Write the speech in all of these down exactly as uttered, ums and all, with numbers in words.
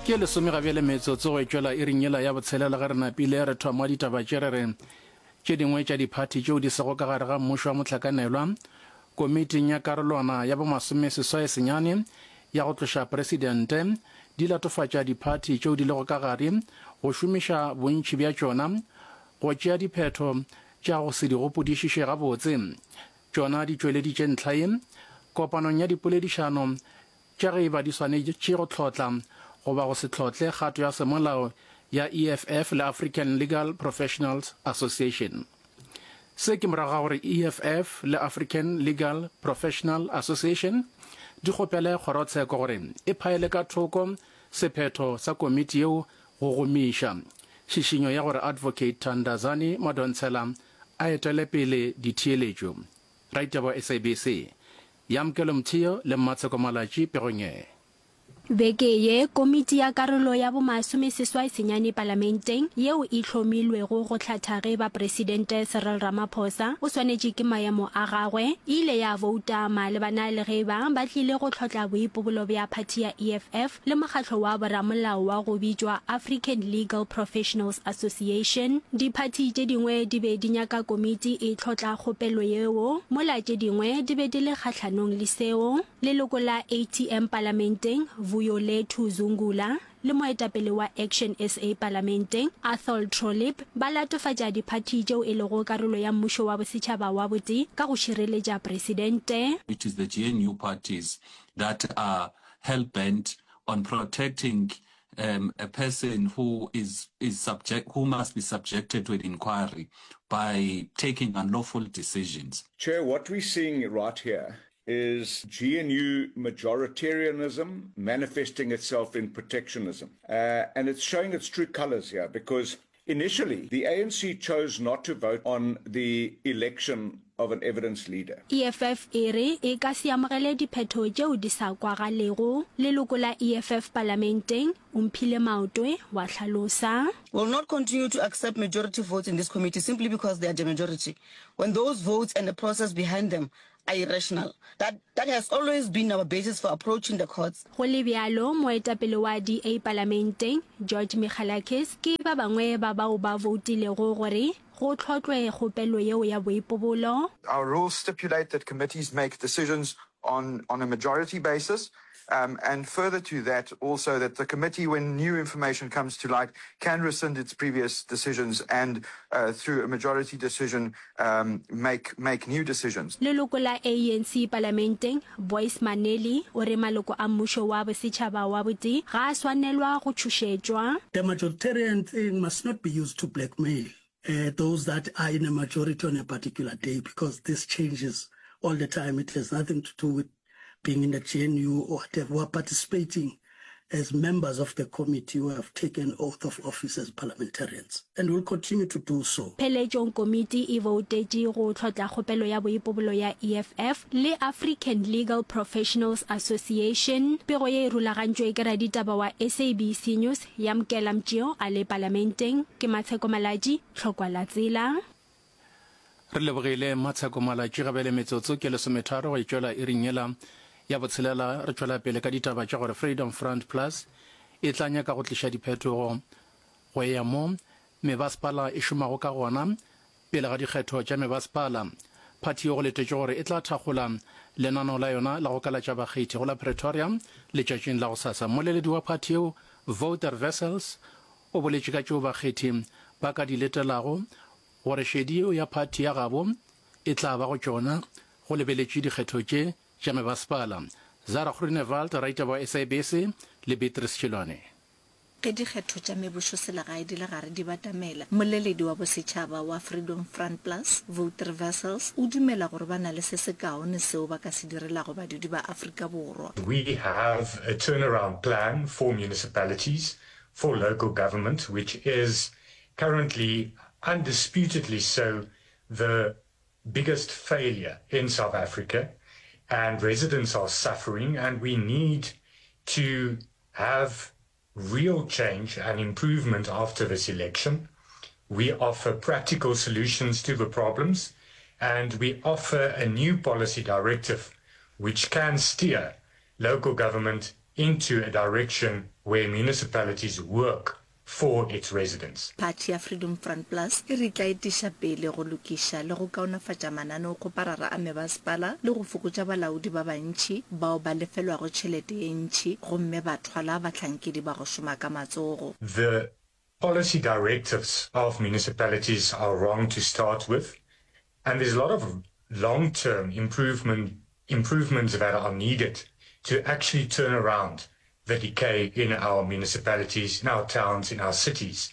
Ke lesome ga bjale metsotso go e tšwela iring yela ya botshelela ge re napile re thoma ditaba tše re re tše dingwe tša diphathi tšeo di sego ka gare ga mmušo wa mohlakanelwa komiting ya karolwana ya bomasomeseswai senyane ya go tloša presidente di latofatša diphathi tšeo di lego ka gare go šomiša bontši bja tšona go tšea diphetho tša go se di gopodišiše gabotse. Tšona di tšweleditše ntlha ye kopanong ya dipoledišano tša ge e ba di swanetše go hlotla goba go se hlotle kgato ya semolao ya E F F le African Legal Professionals Association. Se ke morago ga gore E F F le African Legal Professional Association di kgopele kgorotsheko gore e phaele ka thoko sephetho sa komiti yeo go gomiša šišinyo ya gore Advocate Tandazani Madonsela a etele pele ditheeletšo. Raitaba wa S A B C Yamkelo Mthio le Mmatsheko Malatši pegong ye. Beke ye, komiti ya karolo ya bomasomeseswai senyane palamenteng yeo e hlomilwego go hlatha ge ba Presidente Cyril Ramaphosa o swanetše ke maemo a gagwe, e ile ya bouta malebana le ge ba ba tlile go hlotla boipobolo bja phathi ya E F F le mokgatlo wa boramolao wa go bitšwa African Legal Professionals Association. Diphathi tše dingwe di be di nyaka komiti e hlotla kgopelo yeo, mola tše dingwe di be di le kgahlanong le seo. Leloko la A T M palamenteng Vuyolethu Zungula le moetapele wa Action S A palamenteng Athol Trollip ba latofatša diphathi tšeo e lego karolo ya mmušo wa bosetšhaba wa botee ka go šireletša presidente. It is the G N U parties that are hell-bent on protecting um, a person who is, is subject, who must be subjected to an inquiry by taking unlawful decisions. Chair, what we're seeing right here is G N U majoritarianism manifesting itself in protectionism. Uh, and it's showing its true colors here because initially the A N C chose not to vote on the election of an evidence leader. E F F e re e ka se amogele diphetho tšeo di sa kwagalego. Leloko la E F F palamenteng Omphile Maotwe wa hlalosa. Will not continue to accept majority votes in this committee simply because they are the majority, when those votes and the process behind them are irrational. That, that has always been our basis for approaching the courts. Go le bjalo, moetapele wa D A palamenteng George Michalakis ke ba bangwe ba bao ba voutilego gore go hlotlwe kgopelo yeo ya boipobolo. Our rules stipulate that committees make decisions on, on a majority basis. Um, and further to that, also that the committee, when new information comes to light, can rescind its previous decisions and, uh, through a majority decision, um, make, make new decisions. Leloko la A N C palamenteng Boyce Maneli o re maloko a mmušo wa bosetšhaba wa botee ga a swanelwa go tšhošetšwa. The majoritarian thing must not be used to blackmail uh, those that are in a majority on a particular day, because this changes all the time. It has nothing to do with being in the G N U or whatever. We are participating as members of the committee who have taken oath of office as parliamentarians and will continue to do so. Pheletšong komiti e boutetše go hlotla kgopelo ya boipobolo ya E F F le African Legal Professionals Association. Pego ye e rulagantšwe ke raditaba wa S A B C News Yamkela Mtšeo a le palamenteng. Ke Matsheko Malatši, Tlhokwa la Tsela. Re lebogile Matsheko Malatši. Gabele metsotso ke lesometharo go e tšwela iring yela ya botshelela. Re tšwela pele ka ditaba tša gore Freedom Front Plus e tla nyaka go tliša diphetogo go ya mo mebasepala e šomago ka gona pele ga dikgetho tša mebasepala. Phathi yo go letetše gore e tla thakgola lenaneo la yona la go kalatša bakgethi go la Pretoria letšatšing la go sasa. Mmoleledi wa phathi yeo Wouter Wessels o boletše ka tšeo bakgethi ba ka di letelago gore šedi yeo ya phathi ya gabo e tla ba go tšona go lebeletše dikgetho tše tša mebasepala. Zara Groenewald, raitaba wa S A B C, le Beatrice Chilwane. Ge dikgetho tša mebušoselegae di le gare di batamela, mmoleledi wa bosetšhaba wa Freedom Front Plus, Wouter Wessels, o dumela gore ba na le se sekaone seo ba ka se direlago badudi ba Afrika Borwa. We have a turnaround plan for municipalities, for local government, which is currently undisputedly so the biggest failure in South Africa, and residents are suffering, and we need to have real change and improvement after this election. We offer practical solutions to the problems, and we offer a new policy directive which can steer local government into a direction where municipalities work for its residents. Phathi ya Freedom Front Plus e re e tla etiša pele go lokiša le go kaonafatša mananeokgoparara a mebasepala le go fokotša balaodi ba bantši bao ba lefelwago tšhelete ye ntši gomme ba thwala bahlankedi ba go šoma ka matsogo. The policy directives of municipalities are wrong to start with and there's a lot of long-term improvement improvements that are needed to actually turn around the decay in our municipalities, in our towns, in our cities.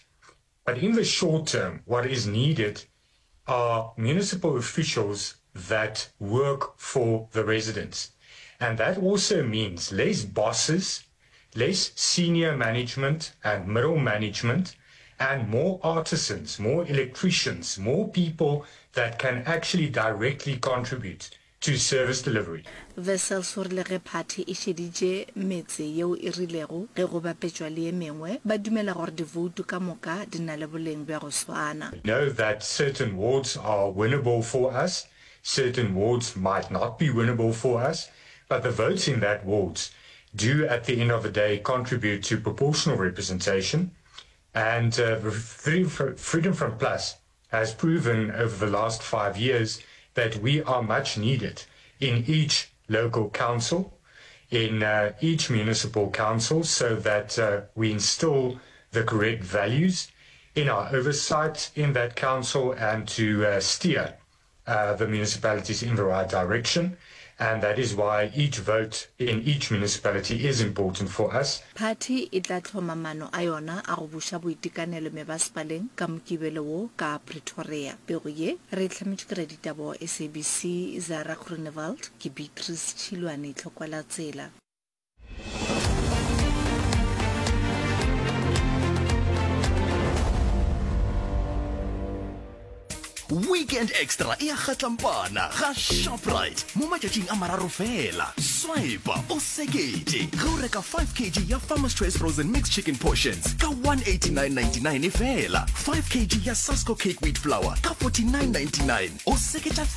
But in the short term, what is needed are municipal officials that work for the residents. And that also means less bosses, less senior management and middle management, and more artisans, more electricians, more people that can actually directly contribute to service delivery. Wessels o rile ge phathi e šeditše metse yeo e rilego ge go bapetšwa le ye mengwe, ba dumela gore divoutu ka moka di na le boleng bja go swana. We know that certain wards are winnable for us, certain wards might not be winnable for us, but the votes in that wards do at the end of the day contribute to proportional representation and uh, Freedom Front Plus has proven over the last five years that we are much needed in each local council, in uh, each municipal council, so that uh, we instill the correct values in our oversight in that council and to uh, steer uh, the municipalities in the right direction. And that is why each vote in each municipality is important for us. Phathi e tla hloma maano a yona a go buša boitekanelo mebasepaleng ka Mokibelo wo ka Pretoria. Pego ye re e hlametšwe ke raditaba wa SABC Zara Groenewald, ke Beatrice Tšhilwane, Tlhokwalatsela. Weekend Extra e a kgatlampana ga Shoprite mo matšatšing a mararo fela. Swipa o seketše ge o reka five kg ya Farmer's Choice Frozen Mixed Chicken Portions ka one eighty-nine ninety-nine fela, five kg ya Sasko Cake Wheat Flour ka forty-nine ninety-nine, o seketša